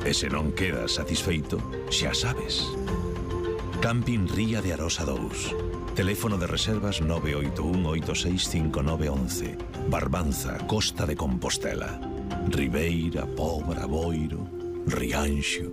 E se non quedas satisfeito, xa sabes. Camping Ría de Arosa 2. Teléfono de reservas 981865911. Barbanza, Costa de Compostela. Ribeira, Pobra, Boiro, Rianxo.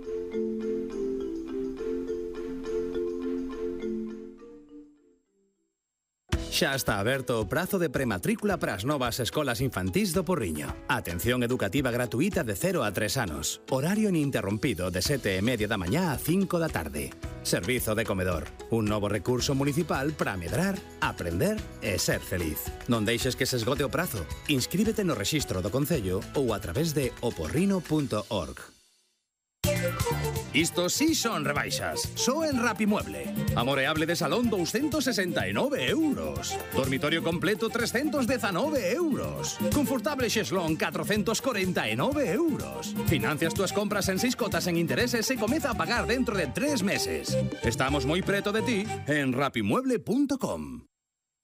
Xa está aberto o prazo de prematrícula para as novas escolas infantís do Porriño. Atención educativa gratuita de 0 a 3 anos. Horario ininterrompido de 7:30 da mañá a 5 da tarde. Servizo de comedor. Un novo recurso municipal para medrar, aprender e ser feliz. Non deixes que se esgote o prazo. Inscríbete no rexistro do Concello ou a través de oporrino.org. Isto sí son rebaixas. Só en Rapimueble. Amoreable de salón 269 euros. Dormitorio completo 319 euros. Confortable xeslón 449 euros. Financias túas compras en 6 cotas en intereses e comeza a pagar dentro de 3 meses. Estamos moi preto de ti en rapimueble.com.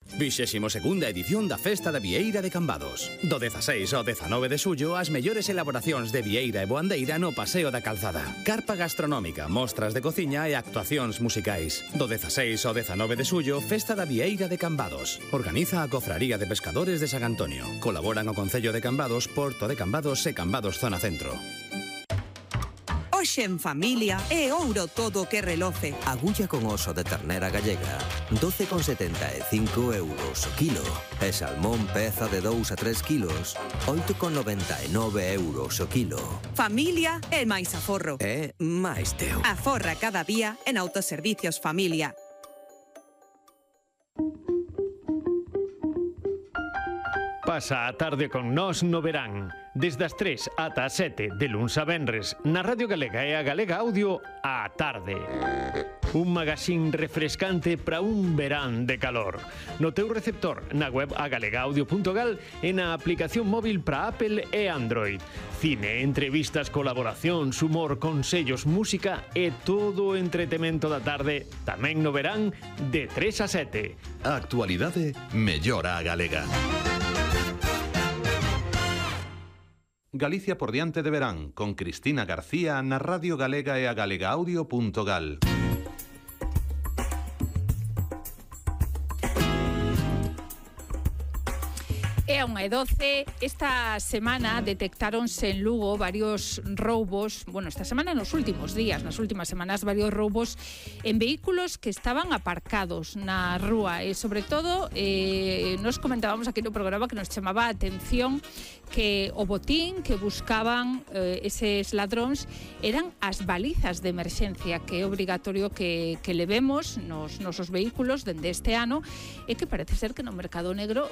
22ª edición da Festa da Vieira de Cambados. Do 16 ao 19 de xullo, as mellores elaboracións de vieira e boandeira no Paseo da Calzada. Carpa gastronómica, mostras de cociña e actuacións musicais. Do 16 ao 19 de xullo, Festa da Vieira de Cambados. Organiza a Cofraría de Pescadores de San Antonio. Colaboran o Concello de Cambados, Porto de Cambados e Cambados Zona Centro. Hoxe en familia é ouro todo o que reloce. Agulla con oso de ternera gallega, 12,75 euros o kilo. E salmón peza de 2 a 3 kilos, 8,99 euros o kilo. Familia é máis aforro. É máis teu. Aforra cada día en Autoservicios Familia. Pasa a tarde con nós no verán. Desde as 3 ata as 7 de luns a venres na Radio Galega e a Galega Audio á tarde. Un magazín refrescante para un verán de calor. No teu receptor, na web agalegaudio.gal e na aplicación móvil para Apple e Android. Cine, entrevistas, colaboracións, humor, consellos, música e todo o entretemento da tarde tamén no verán de 3 a 7. A actualidade mellora a galega. Galicia por diante de verán, con Cristina García na Radio Galega e a galegaudio.gal. É a 1:12. Esta semana detectáronse en Lugo varios roubos, esta semana nos últimos días, nas últimas semanas, varios roubos en vehículos que estaban aparcados na rúa e, sobre todo, nos comentábamos aquí no programa que nos chamaba a atención que o botín que buscaban eses ladróns eran as balizas de emerxencia, que é obrigatorio que levemos nos nosos vehículos dende este ano e que parece ser que no mercado negro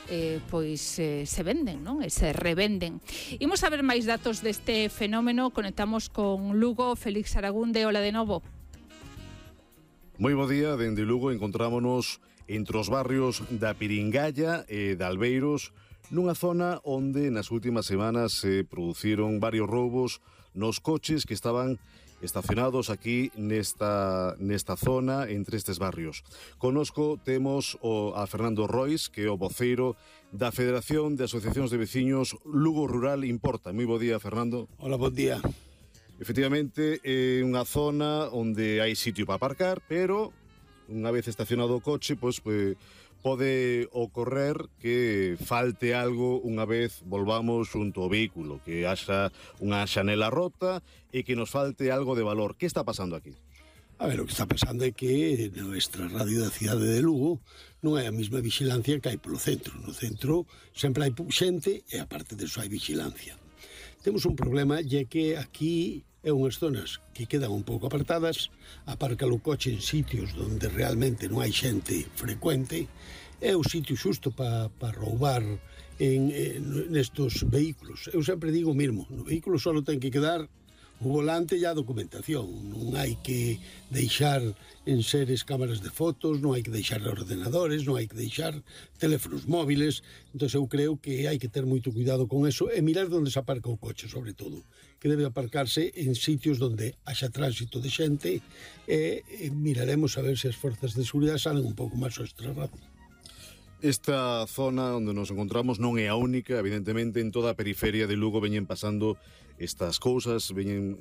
se venden, non? E se revenden. Imos a ver máis datos deste fenómeno. Conectamos con Lugo. Félix Aragunde, hola de novo. Moi bo día, dende Lugo encontrámonos entre os barrios da Piringalla e de Albeiros, nunha zona onde nas últimas semanas se produciron varios roubos nos coches que estaban estacionados aquí nesta zona, entre estes barrios. Connosco temos a Fernando Rois, que é o voceiro da Federación de Asociacións de Veciños Lugo Rural Importa. Moi bo día, Fernando. Hola, bon día. Efectivamente, é unha zona onde hai sitio para aparcar, pero unha vez estacionado o coche, pode ocorrer que falte algo unha vez volvamos xunto ao vehículo, que haxa unha xanela rota e que nos falte algo de valor. Que está pasando aquí? A ver, o que está pasando é que nuestra radio da cidade de Lugo non hai a mesma vigilancia que hai polo centro. No centro sempre hai xente e aparte disso hai vigilancia. Temos un problema, e que aquí é unhas zonas que quedan un pouco apartadas, aparca o coche en sitios onde realmente non hai xente frecuente, é o sitio xusto para roubar nestos vehículos. Eu sempre digo o mesmo, no vehículo só ten que quedar o volante e a documentación, non hai que deixar enseres cámaras de fotos, non hai que deixar ordenadores, non hai que deixar teléfonos móviles. Entón eu creo que hai que ter moito cuidado con eso e mirar onde se aparca o coche, sobre todo, que debe aparcarse en sitios onde haxa tránsito de xente e miraremos a ver se as forzas de seguridade salen un pouco máis ao extrarradio. Esta zona onde nos encontramos non é a única, evidentemente en toda a periferia de Lugo veñen pasando estas cousas, veñen